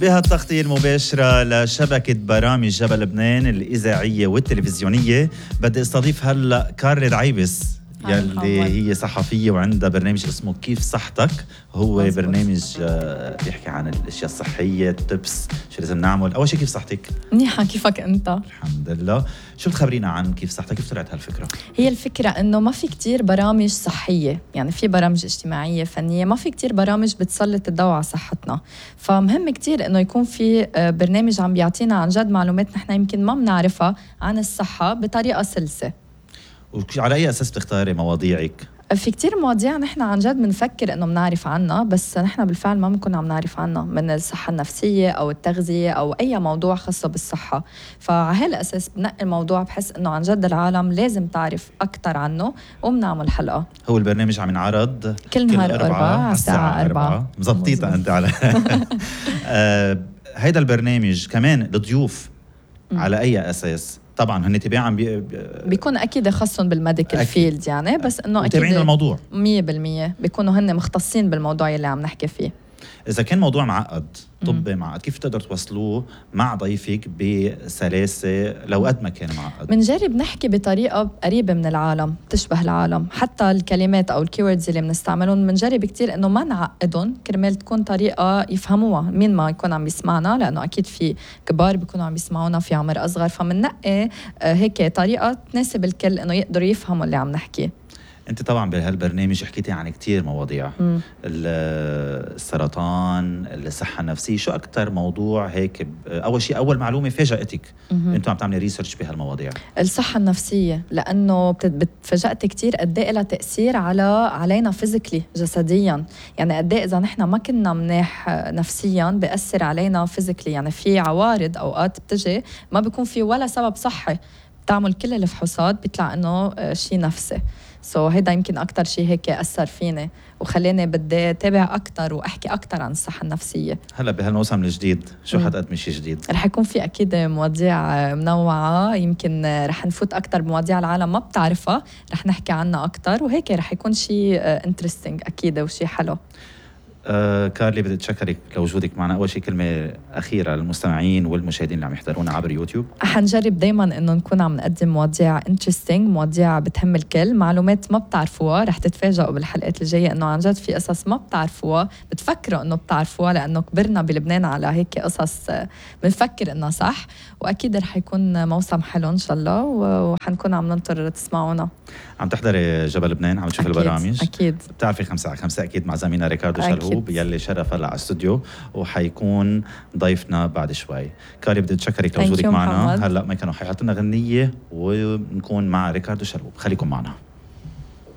بهالتغطية المباشرة لشبكة برامج جبل لبنان الإذاعية والتلفزيونية بدي استضيف هلأ كارلي العيبس يلي هي صحفية وعندها برنامج اسمه كيف صحتك. هو مزبوط. برنامج بيحكي عن الاشياء الصحية، التبس، شو لازم نعمل. اول شيء كيف صحتك؟ منيحة، كيفك انت؟ الحمد لله. شو بتخبرينا عن كيف صحتك؟ كيف طلعت هالفكرة؟ هي الفكرة انه ما في كتير برامج صحية، يعني في برامج اجتماعية فنية، ما في كتير برامج بتسلط الضوء على صحتنا. فمهم كتير انه يكون في برنامج عم بيعطينا عن جد معلومات نحن يمكن ما بنعرفها عن الصحة بطريقة سلسة. وعلى أي أساس بتختاري مواضيعك؟ في كتير مواضيع نحن عن جد بنفكر انه بنعرف عنها، بس نحن بالفعل ما بنكون عم نعرف عنها، من الصحة النفسية او التغذية او اي موضوع خاصة بالصحة. فعلى هالاساس بنقي الموضوع بحس انه عن جد العالم لازم تعرف اكثر عنه وبنعمل حلقة. هو البرنامج عم ينعرض كل نهار 4 على الساعة 4. مزبطيتها انت على هيدا البرنامج كمان الضيوف على اي اساس؟ طبعا هن تباعا بيكون اكيد خاصهم بالميديكال فيلد يعني، بس انه اكيد متابعين الموضوع 100% بيكونوا هن مختصين بالموضوع اللي عم نحكي فيه. اذا كان موضوع معقد طبي معقد، كيف تقدر توصلوه مع ضيفك بسلاسه لو قد ما كان معقد؟ بنجرب نحكي بطريقه قريبه من العالم، تشبه العالم، حتى الكلمات او الكيوردز اللي بنستعملهم بنجرب كتير انه ما نعقدهم كرمال تكون طريقه يفهموها مين ما يكون عم يسمعنا، لانه اكيد في كبار بيكونوا عم يسمعونا في عمر اصغر، فمننقي هيك طريقه تناسب الكل انه يقدروا يفهموا اللي عم نحكي. انت طبعا بهالبرنامج حكيتي عن كتير مواضيع، السرطان، الصحه النفسيه، شو اكثر موضوع هيك اول شيء اول معلومه فاجأتك انتوا عم تعملي ريسيرش بهالمواضيع؟ الصحه النفسيه، لانه بتفاجأت كتير قد ايه لها تاثير علينا فيزيكلي جسديا، يعني قد ايه اذا نحن ما كنا منيح نفسيا بيأثر علينا فيزيكلي، يعني في عوارض اوقات بتجي ما بيكون في ولا سبب صحي، بتعمل كل الفحوصات بيطلع انه شيء نفسي. هيدا يمكن أكتر شيء هيك أثر فيني وخليني بدي أتابع أكتر وأحكي أكتر عن الصحة النفسية. هلا بهالموسم الجديد شو حتقدمي شيء جديد؟ رح يكون في أكيد مواضيع منوعة، يمكن رح نفوت أكتر بمواضيع العالم ما بتعرفها، رح نحكي عنها أكتر، وهيك رح يكون شيء انترستينج أكيد وشيء حلو. كارلي بدي أتشكرك لوجودك معنا. أول شيء كلمة أخيرة للمستمعين والمشاهدين اللي عم يحضرونا عبر يوتيوب. حنجرب دايما إنه نكون عم نقدم مواضيع انترستينج، مواضيع بتهم الكل، معلومات ما بتعرفوها، رح تتفاجئوا بالحلقات الجاية إنه عن جد في قصص ما بتعرفوها، بتفكروا إنه بتعرفوها لأنه كبرنا بلبنان على هيك قصص بنفكر إنها صح، وأكيد رح يكون موسم حلو إن شاء الله، وحنكون عم ننطر تسمعونا. عم تحضري جبل لبنان، عم تشوفي البرامج أكيد بتعرفي 5 على 5 أكيد مع زميلنا ريكاردو شلهوب يلي شرف هلا على الاستوديو وحيكون ضيفنا بعد شوي. كارلي بدي أتشكرك لوجودك معنا. هلا ما كانوا حيحطوا لنا غنية ونكون مع ريكاردو شلهوب، خليكم معنا.